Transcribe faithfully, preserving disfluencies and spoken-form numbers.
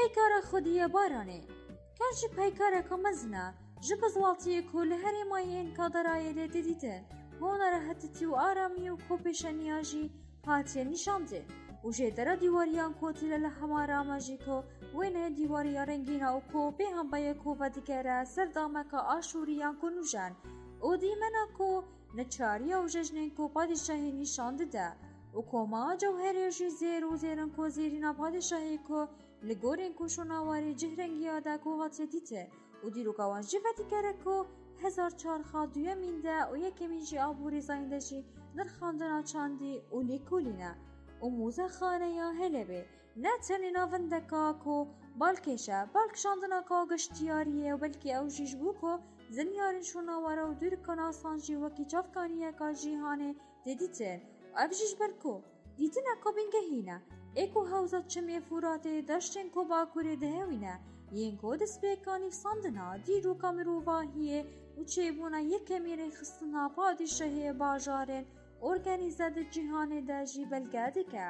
Peykara xwedî ya Baranê. Kar jî peykareka mezin e, ji bizwatiyê ku li herêma yên Kaderayê lê tê dîtin, hona rehetitî û aramî û ku pêşeniya jî hatiye nîşandin û jêdera dîwariyan ku tîle li hema rame jî ku wêne dîwariya rengîn e û ku bê hembayê ku vedigere ser dameka aşûriyan ku nûjen û dîmena ku neçariya û jejnên ku padîşahî nîşan dide û koma Cewherê jî zêr û zêrin ku zêrîna padîşahî ku li gorên ku şûnawarê cihrengiya de ku hatiye dîtin û dîroka wan jî vedigere ku hezar çar xa duyemîn de û yekemîn jî a borîzayîn de jî nirxandina çandî û lêkolîn e û mûzexaneya Helebê ne tenê navendeka ku balkêş e, balkişandineka geştiyariyê û belkî ew jî ji bo ku zinyarên şûnawara û dûrikanasan jî wekî çavkaniyeka cîhanê tê dîtin û ev jî ji ber ku dîtineka bingehîn e, ê ku hewza çimê Furatê deştên ku bakurê dihewîne, yên ku destpêka nivîsandina dîroka mirovahiyê û çêbûna yekemî rêxistina padîşahê bajarên organîze di cîhanê de jî belge dike.